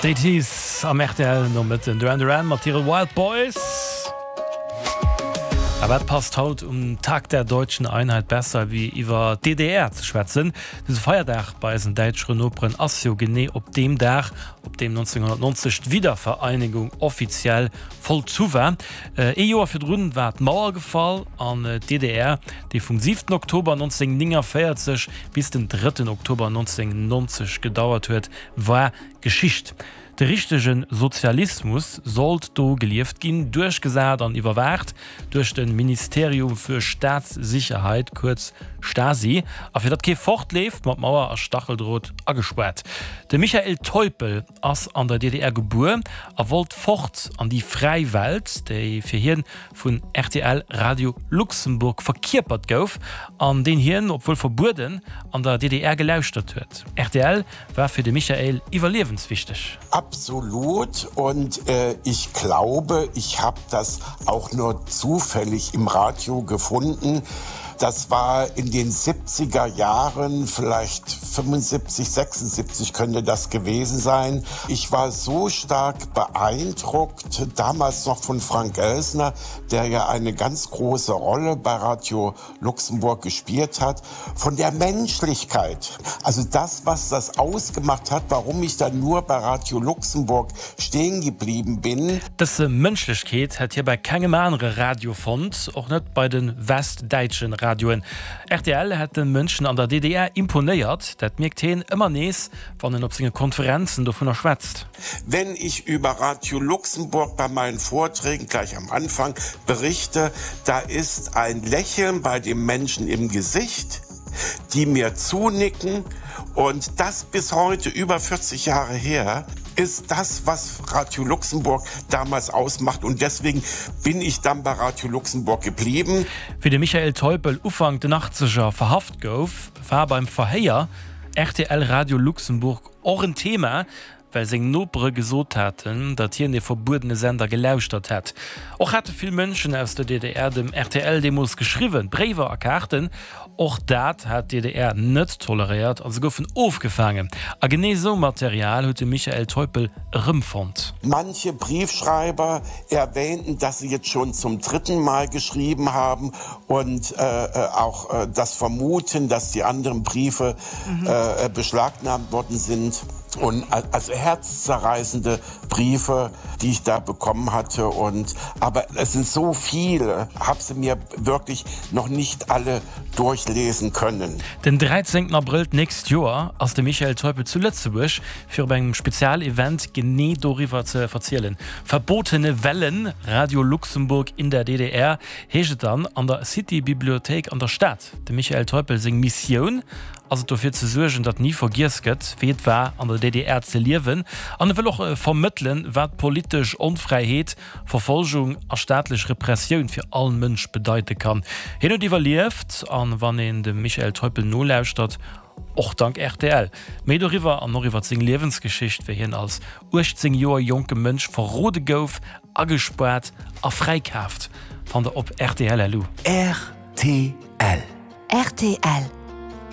D'Eighties am rtl Nomëtten, Duran Duran mat hire Wild Boys. A wat passt haut um Tag der Deutschen Einheit besser wéi iwwer d'DDR ze schwätzen? Dëse Feierdag bei eisen däitschere Noperen ass jo genee op deem Dag, op deem 1990 d'Wiedervereinigung offiziell vollzu war. Ee Joer virdrun war d'Mauer gefall an d'DDR, déi vum 7 Oktober 1949 bis den 3 Oktober 1990 gedauert huet, war Geschicht. De richtege Sozialismus sollt do gelieft ginn, duerchgesat an iwwerwaacht duerch de Ministerium für Staatssicherheit, kuerz Stasi, a fir datt kee fortleeft, mat Mauer a Stacheldrot agespaart. De Michael Teupel ass an der DDR gebuer a wollt fort an déi fräi Welt, déi fir hien vun rtl Radio Luxemburg verkierpert gouf an deen hien, obwuel verbueden, an der DDR gelauschtert huet. Rtl war fir de Michael iwwerliewenswichteg. Absolut und ich glaube, ich hab das auch nur zufällig im Radio gefunden. Das war in den 70er Jahren, vielleicht 75, 76 könnte das gewesen sein. Ich war so stark beeindruckt, damals noch von Frank Elsner, der ja eine ganz große Rolle bei Radio Luxemburg gespielt hat, von der Menschlichkeit. Also das, was das ausgemacht hat, warum ich dann nur bei Radio Luxemburg stehen geblieben bin. Dës Mënschlechkeet hätt hie bei kengem anere Radio fonnt, och net bei de westdäitsche Radioen. Rtl hätt de Mënschen an der DDR imponéiert, dat mierkt hien ëmmer nees, wann en op senge Konferenzen dovunner schwätzt. Wenn ich über Radio Luxemburg bei meinen Vorträgen gleich am Anfang berichte, da ist ein Lächeln bei den Menschen im Gesicht, die mir zunicken und das bis heute über 40 Jahre her ist das, was Radio Luxemburg damals ausmacht und deswegen bin ich dann bei Radio Luxemburg geblieben. Wéi de Michael Teupel Ufank den Achtzeger verhaft gouf, war beim Verhéier rtl Radio Luxemburg och en Thema, well seng Nopere gesot haten, datt hien dee verbuedene Sender gelauschtert hätt. Och hate vill Mënschen aus der DDR dem rtl deemools geschriwwen, Bréiwer a Kaarten. Och dat hat d'DDR net toleréiert a se goufen ofgefaangen. A genee esou Material huet de Michael Teupel erëmfonnt. Manche Briefschreiber erwähnten, dass sie jetzt schon zum dritten Mal geschrieben haben und auch das vermuten, dass die anderen Briefe beschlagnahmt worden sind. Und also herzzerreißende Briefe, die ich da bekommen hatte und aber es sind so viele, habe sie mir wirklich noch nicht alle durchlesen können. Den 13 Abrëll d'nächst Joer ass de Michael Teupel zu Lëtzebuerg fir op engem Spezialevent genee doriwwer ze verzielen. Verbotene Wellen, Radio Luxemburg in der DDR heescht et dann an der City Bibliothéik an der Stad. Dem Michael Teupel seng Missioun ass et dofir ze suergen, datt ni vergiess gëtt, wéi et war an der DDR ze liewen an e wëll och vermëttelen, wat politesch Onfräiheet, Verfolgung a staatlech Repressioun fir all Mënsch bedeite kann. Hien huet iwwerlieft an wann een dem Michael Teupel nolauschtert, och dank rtl. Méi doriwwer an och iwwer seng Liewensgeschicht, wéi hien als 18 Joer jonke Mënsch verrode gouf, agespaart a fräikaaft, fannt der op rtl.lu. Rtl. Rtl.